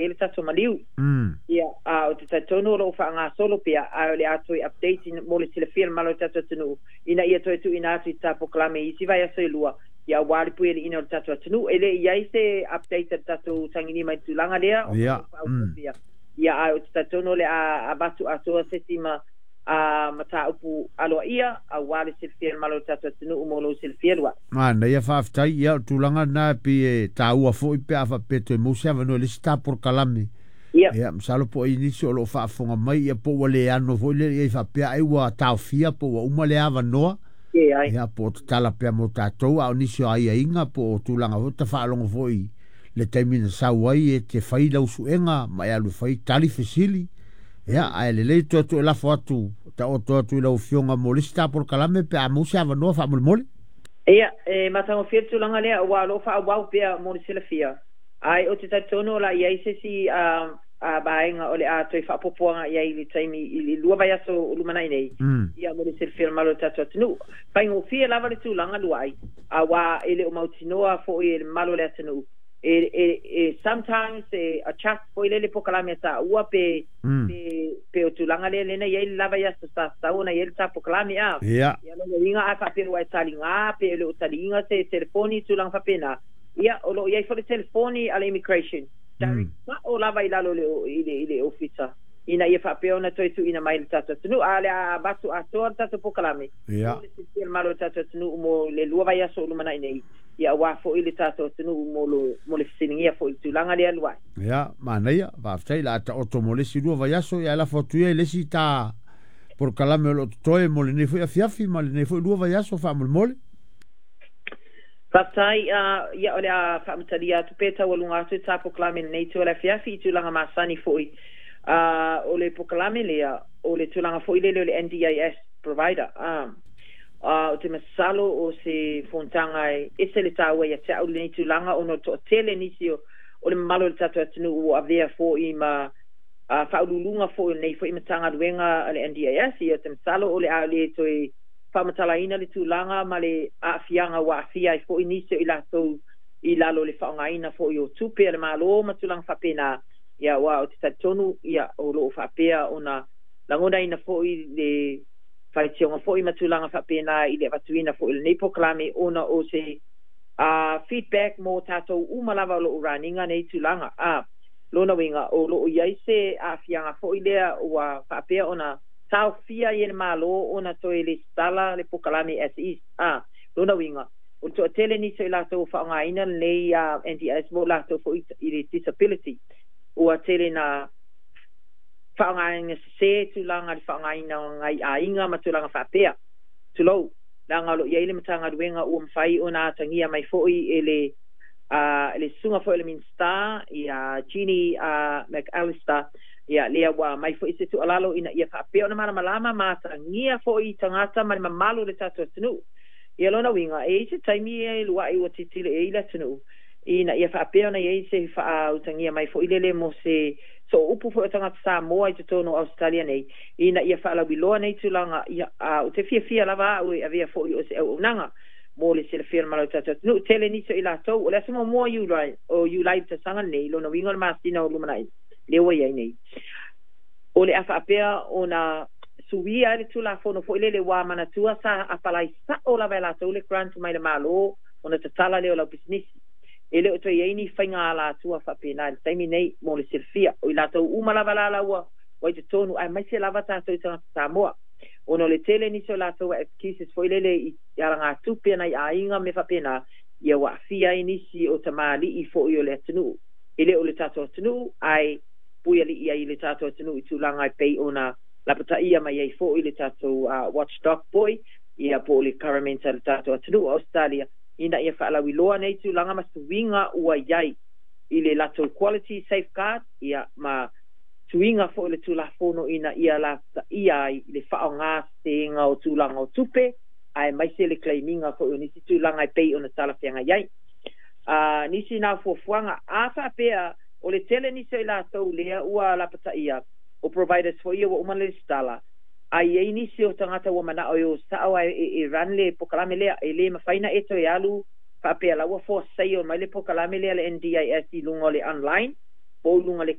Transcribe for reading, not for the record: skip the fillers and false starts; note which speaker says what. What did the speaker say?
Speaker 1: ai le tatou maliu. Ia, a o te talitonu o loo faagasolo pea, ae o le a toe update mo le silafia e le mamalu o le tatou atunuu ina ia toe tuuina atu i ta polokalame i isi vaiaso e lua, ia aua le puialiiina o le tatou atunuu. E le i ai se update a le tatou tagilima i le tulaga lea ona o lo o faaauau pea. Ia, ae ou te talitonu o le a avatu atoa se isi ma a mataupu aloaia aua le silafia e le mamalu o le tatou atunuu mo lou silafia Luai.
Speaker 2: Manaia, faafetai. Ia, o le tulaga lena e pei e taua foi pe a faapea e toe maua se avanoa i le isi ta polokalame. Ia, masalo po o i ai nisi o lo o faafofoga mai, ia po ua le ano foi lea i ai faapea ai ua taofia po ua uma lea avanoa. Ia, po o tatala pea mo tatou, a o nisi o aiaiga po o tulaga foi tafaalogo foi le taimi na sau ai e te fai lau suega ma e alu e fai tali fesili. Ia, ae lelei toe atu e lafo atu, taoto atu i lau Afioga mo le isi ta polokalame pe a maua se avanoa faamolemole.
Speaker 1: Ia, e matagofie le tulaga lea, aua o lo o faaauau pea mo le silafia. Ae ou te talitonu o le a i ai se isi vaega o le a toe faaopoopo agai ai i le taimi i le 2 vaiaso o lumanai nei, ia mo le silafia e le mamalu o le tatou atunuu. Faigofie lava le tulaga Luai, aua e le o mautinoa foi e le mamalu o le atunuu e, e, e sometimes e adjust foi lele polokalame a taua pe pe pe o tulaga lea lena i ai le lava i aso sa tatau ona i ai le ta polokalame a. Ia lona uiga a faapea ua e taliga pe e le o taliina se telefoni tulaga faapena, ia o lo o i ai foi le telefoni a le immigration direct sao lava i lalo i le i le ofisa ina ia faapea ona toe tuuina mai i le tatou atunuu. A o le a avatu atoa le tatou polokalame mo le silafia e le mamalu o le tatou atunuu mo le 2 vaiaso o lumanai nei, ia aua foi le tatou atunuu mo lo, mo le fesiligia foi i le tulaga lea Luai.
Speaker 2: Ia, manaia, faafetai, la a taoto mo le isi 2 vaiaso, ia ae lafo atu ia i le isi ta polokalame o lo o totoe mo lenei foi afiafi ma lenei foi 2 vaiaso faamolemole.
Speaker 1: Faafetai, ia o le a faamatalia atu pe taualuga atu ta polokalame i lenei itu o le afiafi i tulaga masani foi. O le polokalame lea, o le tulaga foi lele o le NDIS provider. Ou te masalo o se fonotaga e ese le taua ia te au lenei tulaga ona o le toatele nisi o le mamalu o le tatou atunuu ua avea foi ma faauluuluga foi o lenei foi Matagaluega a le NDIS. Ia, ou te masalo o le a le toe faamatalaina le tulaga ma le aafiaga ua aafia ai foi nisi o i latou i lalo o le faaaogaina foi o tupe a le Malo ma tulaga faapena. Ia, aua ou te talitonu, ia, o lo o faapea ona lagonaina foi le faitioga foi ma tulaga faapena i le avatuina foi o lenei polokalame ona o se feedback mo tatou uma lava o lo o run ina nei tulaga. A lona uiga, o lo o i ai se aafiaga foi lea ua faapea ona taofia ai e le Malo ona toe lesitala le polokalame as is. A lona uiga, o le toatele nisi o i latou ua faaaogaina lenei NDIS mo latou foi i le disability, ua tele na faaaogaina sese tulaga i le faaaogaina o nai aiga ma tulaga faapea. Tulou, leaga o lo o i ai le Matagaluega ua mafai ona atagia mai foi e le le susuga foi o le Minisita ia Jenny McAllister, ia lea ua aumai foi se tuualalo ina ia faapea ona malamalama ma atagia foi tagata ma le mamalu o le tatou atunuu. Ia lona uiga, e i ai se taimi e lua'i ua tilotilo i ai le atunuu ina ia faapea ona i ai se faautagia mai foi lele mo se sooupu foi o tagata Samoa i totonu o Ausetalia nei, ina ia faalauiloa nei tulaga. Ia, a ou te fiafia lava au e avea foi o se auaunaga mo le silafia o le mamalu o le tatou atunuu. Tele nisi o i latou, o le aso muamua o o Iulai i le tausaga lenei, lona uiga o le masina o lumanai lea ua i ai nei, o le a faapea ona suia ai le Tulafono foi lele ua manatua sa apalai sao lava e latou le grant mai le Malo ona tatala lea o lau pisinisi. E le o toe i ai ni faiga alatua faapena i le taimi nei mo le silafia. O i latou uma lava la la ua i totonu, aemaise lava tatou i tagata Samoa, ona o le tele nisi o latou excuses foi lele i alagatupe a nai aiga ma mea faapena, ia ua aafia ai nisi o tamalii foi o le atunuu. E le o le tatou atunuu, ae puialii ai i le tatou atunuu i tulaga e pei ona lapataia mai ai foi le tatou watchdog foi, ia po o le government a le tatou atunuu o Ausetalia, ina ia faalauiloa nei tulaga ma suiga ua i ai i le latou quality safeguard, ia ma suiga foi o le Tulafono ina ia lapataia ai le faaaoga seseina o tulaga o tupe, aemaise le claim ina foi o nisi tulaga e pei ona talafeagai ai. Nisi na fuafuaga a faapea o le tele nisi o i latou lea ua lapataia o providers foi ia ua uma le lesitala, a i ai nisi o tagata ua manao e o sao ae e run le polokalame lea, e le mafai na e toe alu faapea la ua force mai le polokalame lea le NDIS i luga o le online po o luga le